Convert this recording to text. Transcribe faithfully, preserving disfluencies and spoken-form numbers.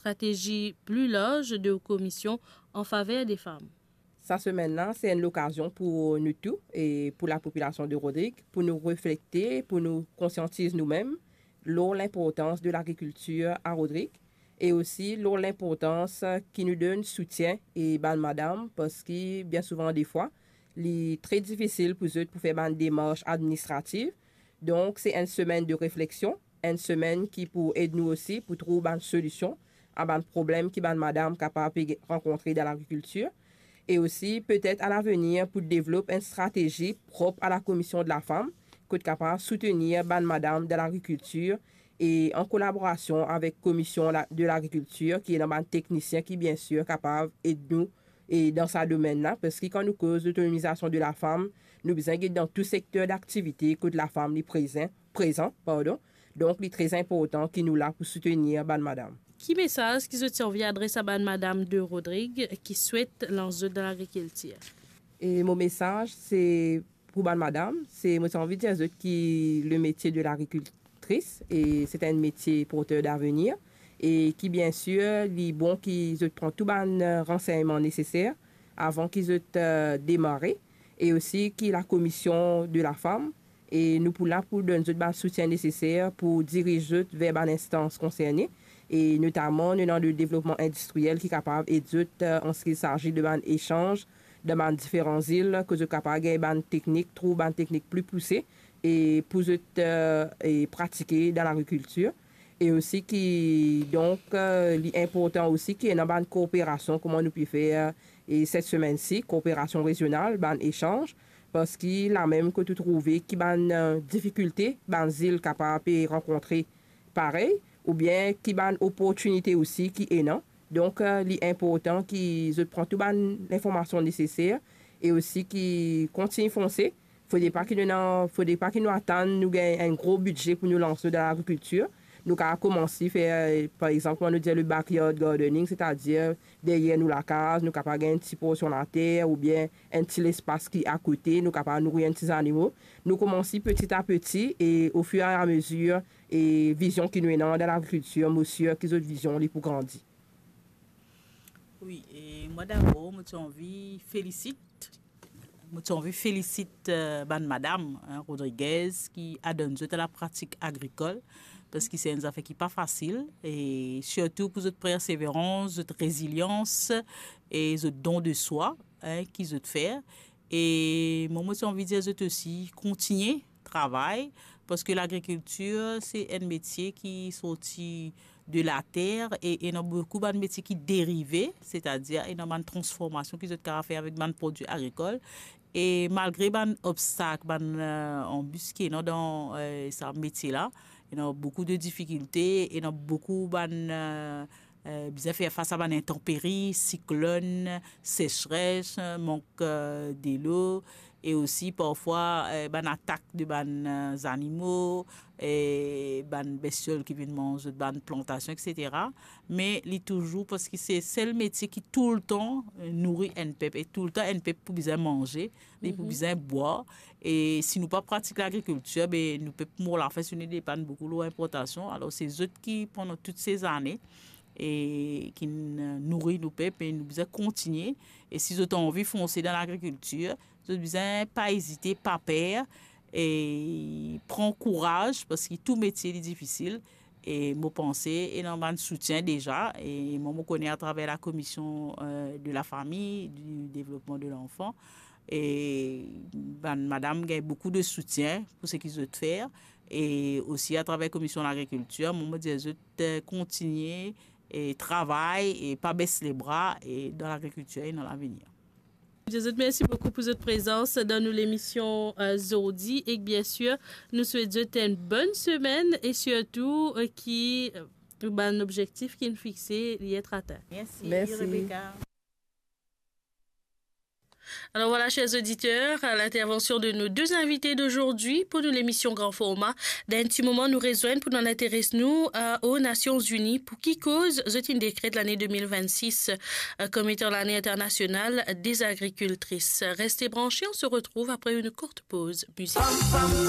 stratezi pli larz de komisyon an faver de fam. Sa semenn la, se enn lokazion pou nou tou e pou lapopilasion de Rodrig, pou nou reflekte, pou nou konsiantiz noumem lor linportans de lagrikiltir a Rodrig e osi lor linportans ki nou donn soutien e bann madam, parski bien souvan defwa, li tre difisil pou zot pou fer bann demars administrativ. Donk, se enn semenn de refleksion, enn semenn ki pou ed nou osi pou trouv bann solision a bann problem ki bann madam kapav pe rankontre dan lagrikiltir, e osi petet a lavenir pou devlop enn stratezi prop a la Commission de la Femme, kot kapav soutenir bann madam dan lagrikiltir e an kolaborasion avek Commission la, de l'Agriculture, ki ena bann teknisien ki, bien sir, kapav ed nou e dan sa domenn la, parski kan nou koz lotonomizasion de lafam, nou bizin get dan tou sekter daktivite kot lafam li prezan, prezan, pardon. Donk, li tre inportan ki nou la pou soutenir bann madam. Ki mesaz ki zot ti anvi adres a bann madam de Rodrig ki swet lans zot dan lagrikiltir? E mo mesaz, se pou bann madam, se, mo ti anvi dir zot ki le metie de lagrikiltris, e se enn metie porter davenir, e ki, bien sir, li bon ki zot pran tou bann, eh, ransegnman neseser avan ki zot, eh, demare, e osi ki la Commission de la Femme, e nou pou la pou donn zot bann soutien neseser pou diriz zot ver bann instans konserne, e notaman nou ena le devlopman indistriel ki kapav ed zot, eh, an se ki sazi de bann esanz dan bann diferan zil, kot zot kapav gagn bann teknik, trouv bann teknik pli pouse, e pou zot, eh, e pratike dan lagrikiltir. E osi ki, donk, eh, li inportan osi ki ena bann kooperasion, kouma nou pe fer, e set semenn si, kooperasion rezional, bann esanz, parski lamem kot ou trouve ki bann, eh, difikilte bann zil kapav pe rankontre parey, oubien ki bann oportinite osi ki ena. Donk, eh, li inportan ki zot pran tou bann linformasion neseser e osi ki kontign fonse. Fode pa ki nou ena, fode pa ki nou atann nou gagn enn gro bidze pou nou lans nou dan lagrikiltir. Nou kapav koumans fer, eh, par exanp, kouma nou dir, le backyard gardening, setadir deryer nou lakaz, nou kapav gagn enn ti porsion later oubien enn ti lespas ki akote, nou kapav nouri enn ti zanimo. Nou koumans peti a peti e, o fir e a mezir, e vizion ki nou ena dan lagrikiltir, mo sir ki zot vizion li pou grandi. Wi, e mwa dabor, mo ti anvi felisit, mo ti anvi felisit, eh, bann madam, hein, Rodriguez ki adann zot a lapratik agrikol, parski se enn zafer ki pa fasil, e sirtou pou zot perseverans, zot rezilians e zot don de swa, hein, ki zot fer. E mwa, mo ti anvi dir zot osi, kontigne travay, parski lagrikiltir, se enn metie ki sorti de later e ena boukou bann metie ki derive, setadir ena bann transformasion ki zot kapav fer avek bann prodwi agrikol. E malgre bann obstak, bann, eh, anbis ki ena dan, eh, sa metie la, ena boukou de difikilte, ena boukou bann, eh, eh, bizin fer fas a bann intanperi, siklonn, sesres, mank, eh, delo, e osi parfwa, eh, bann atak de bann, eh, zanimo, eh, bann bestiol ki vinn manz bann plantasion, etsetera. Me li touzour, parski se sel metie ki toultan, eh, nouri enn pep, e toultan enn pep pou bizin manze, li pou bizin bwar. E si nou pa pratik lagrikiltir, be, nou pep mor lafin si nou depann boukou lor inportasion. Alor, se zot ki, pandan tout se zane, e ki n-, nouri nou pep, e nou bizin kontigne. E si zot anvi fonse dan lagrikiltir, zot bizin pa ezite, pa per, e pran kouraz, parski tou metie li difisil. E mo panse, ena bann soutien deza, e mwa, mo kone atraver la Commission, eh, de la Famille, du Développement de l'Enfant, e bann madam gagn boukou de soutien pou seki zot fer, e osi atraver Commission Lagrikiltir, mwa, mo dir zot, eh, kontigne e travay e pa bes lebra e dan lagrikiltir e dan lavenir. Dir zot mersi boukou pou zot prezans dan nou lemision, eh, zordi, e bien sir, nou swet zot enn bonn semenn e sirtou, eh, ki, eh, bann obzektif ki nou fixe, li et atenn. Mersi, Mersi. Rebecca. Alors voilà, chers auditeurs, l'intervention de nos deux invités d'aujourd'hui pour nous, l'émission Grand Format. Dan enn ti moman, nou rezwenn pou nou interes nou, euh, aux Nations Unies, pou ki koz zot inn dekret lane de mil vennsis, euh, comme étant l'année internationale des agricultrices. Restez branchés, on se retrouve après une courte pause musicale.